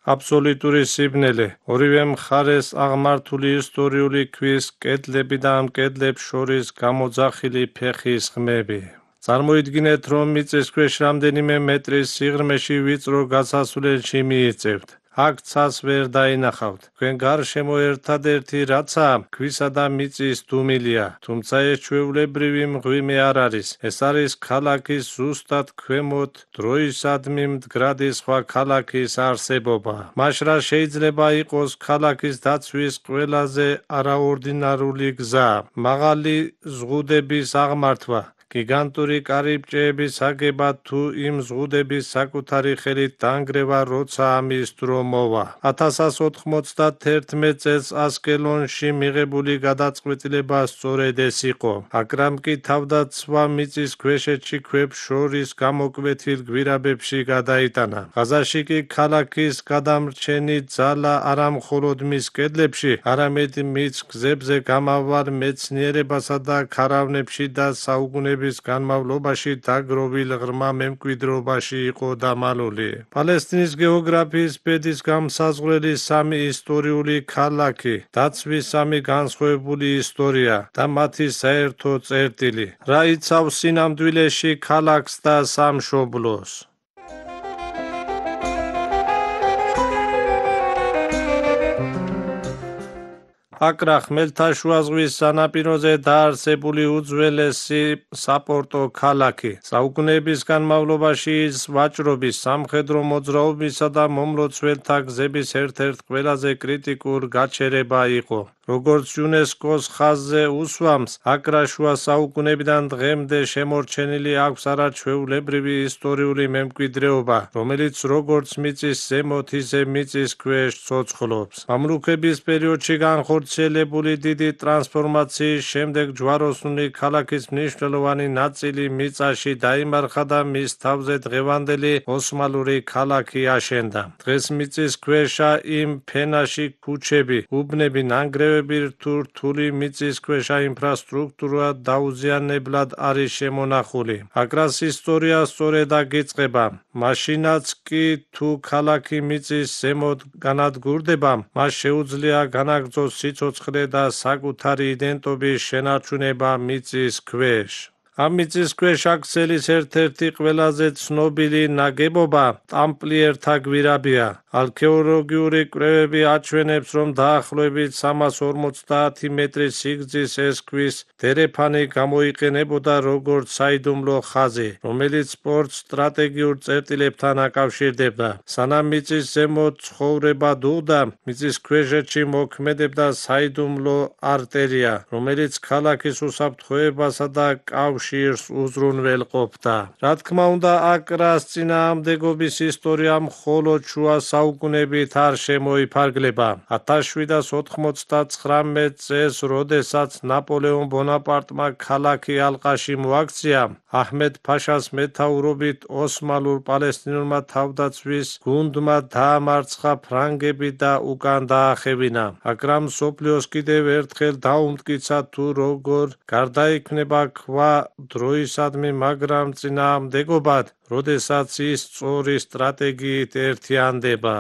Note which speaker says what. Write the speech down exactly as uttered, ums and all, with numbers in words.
Speaker 1: აბსოლუტური სიბნელე. ორივე მხარეს აღმართული ისტორიული ქვის კედლები და ამ კედლებს შორის გამოძახილი ფეხის ხმები. წარმოიდგინეთ, რომ მიწისქვეშ რამდენიმე მეტრის სიღრმეში ვიწრო გასასვლელში მიიწევთ. აქ ცას ვერ დაინახავთ. თქვენ გარშემო ერთადერთი რაცაა, ქვისა და მიწის დუმილია, თუმცა ეს ჩვეულებრივი მღვიმე არ არის. ეს არის ქალაქის ზუსტად ქვემოთ დროისადმი მდგრადი სხვა ქალაქის არსებობა. მაშ რა შეიძლება იყოს ქალაქის დაცვის ყველაზე არაორდინარული გზა? მაღალი ზღუდების აღმართვა. გიგანტური კარიბჭეების აგება თუ იმ ზღუდების საკუთარი ხელით დანგრევა, როცა ამის დრო მოვა. ათას ოთხმოცდაათერთმეტ წელს ასკელონში მიღებული გადაწყვეტილება სწორედ ეს იყო. აკრამ კი თავდაცვა მიწისქვეშეთში ქვებს შორის გამოკვეთილ გვირაბებში გადაიტანა. ღაზაში კი ქალაქის გადამრჩენი ძალა არა მხოლოდ მის კედლებში, არამედ მის გზებზე გამავალ მეცნიერებასა და ქარავნებში და საუკუნეების განმავლობაში დაგროვილ ღრმა მემკვიდრეობაში იყო დამალული. პალესტინის გეოგრაფიის ბედის გამსაზღვრელი სამი ისტორიული ქალაქი, დაცვის სამი განსხვავებული ისტორია და მათი საერთო წერტილი. რა იცავს სინამდვილეში ქალაქს და სამშობლოს? აკრა ხმელთაშუა ზღვის სანაპიროზე დაარსებული უძველესი საპორტო ქალაქი. საუკუნეების განმავლობაში ის ვაჭრობის, სამხედრო მოძრაობისა და მომლოცველთა გზების ერთ-ერთ ყველაზე კრიტიკულ გაჩერება იყო. როგორც იუნესკოს ხაზზე უსვამს, აკრა შუა საუკუნეებიდან დღემდე შემორჩენილი აქვს არაჩვეულებრივი ისტორიული მემკვიდრეობა, რომელიც როგორც მიწის ზემოთ, ისე მიწის ქვეშ ცოცხლობს. მამლუქების პერიოდში განხორციელებული დიდი ტრანსფორმაციის შემდეგ ჯვაროსნული ქალაქის მნიშვნელოვანი ნაწილი მიწაში დაიმარხა და მის თავზე დღევანდელი ოსმალური ქალაქი აშენდა. დღეს მიწის ქვეშა იმ ფენაში ქუჩები, უბნები, ნანგრევები თუ რთული მიწისქვეშა ინფრასტრუქტურა დაუზიანებლად არის შემონახული. აკრას ისტორია სწორედ აქ იწყება. მაშინაც კი თუ ქალაქი მიწის ზემოთ განადგურდება, მას შეუძლია განაგრძოს სიცოცხლე და საკუთარი იდენტობის შენარჩუნება მიწის ქვეშ. ამ მიწისქვეშ აქცელის ერთ-ერთი ყველაზე ცნობილი ნაგებობა ტამპლიერთა გვირაბია. არქეოლოგიური კვლევები აჩვენებს, რომ დაახლოებით სამას ორმოცდაათი მეტრის სიგრძის ეს ქვის დერეფანი გამოიყენებოდა როგორც საიდუმლო ხაზი, რომელიც სპორტს სტრატეგიურ წერტილებთან აკავშირდებდა. სანამ მიწის ზემოთ ცხოვრება დუღდა, მიწის ქვეშეთში მოქმედებდა საიდუმლო არტერია, რომელიც ქალაქის უსაფრთხოებასა და კავშირს უზრუნველყოფდა. რა თქმა უნდა, აკრას წინააღმდეგობის ისტორია მხოლოდ შუა საუკუნეებით არ შემოიფარგლება. ათას შვიდას ოთხმოცდაცხრამეტ წელს, როდესაც ნაპოლეონ ბონაპარტმა ქალაქი ალყაში მოაქცია, აჰმედ ფაშას მეთაურობით ოსმალურ პალესტინურმა თავდაცვის გუნდმა დაამარცხა ფრანგები და უკან დაახევინა. აკრამ მსოფლიოს კიდევ ერთხელ დაუმტკიცა თუ როგორ გარდაიქმნება ქვა დროისადმი, მაგრამ წინააღმდეგობად, როდესაც ის სწორი სტრატეგიით ერთიანდება.